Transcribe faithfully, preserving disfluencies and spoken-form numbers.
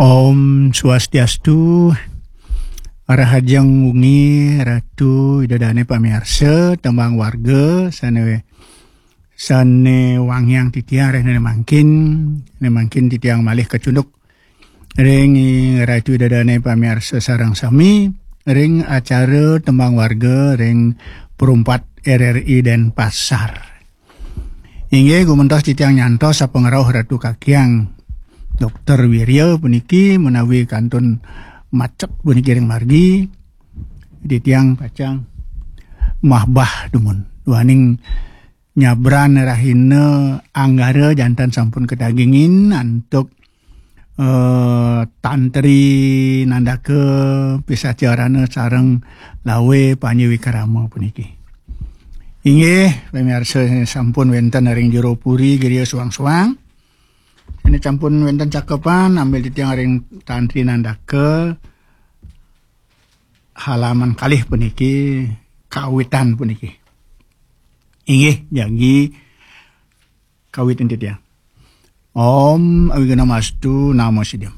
Om Swastiastu. Rahajeng wengi Ratu Ida Dane pamiarsa tembang warga sane sane wangiang titiang rene mangkin, ne mangkin titiang malih kacunduk ring Ratu Ida Dane pamiarsa sareng sami ring acara tembang warga ring perumpat R R I Denpasar. Inggih, gumentos titiang nyantos sapangrauh Ratu Kakiang Dokter Wirya puniki menawi kantun macek puniki ring margi, titiang pacang mahbah dumun. Duaning nyabran rahina Anggara jantan sampun katagingin antuk eh, Tantri Nandaka Pisacharana sareng Lawe Panji Wikrama puniki. Inggih, pamiarsa sampun wenten ring jero puri griya suang-suang. Ini sampun wenten cakepan, ambil titiang ring Tantri Nandaka halaman kalih puniki, kawitan puniki. Inggih, jagi kawitin titiang. Om Awighnamastu Namo Siddham.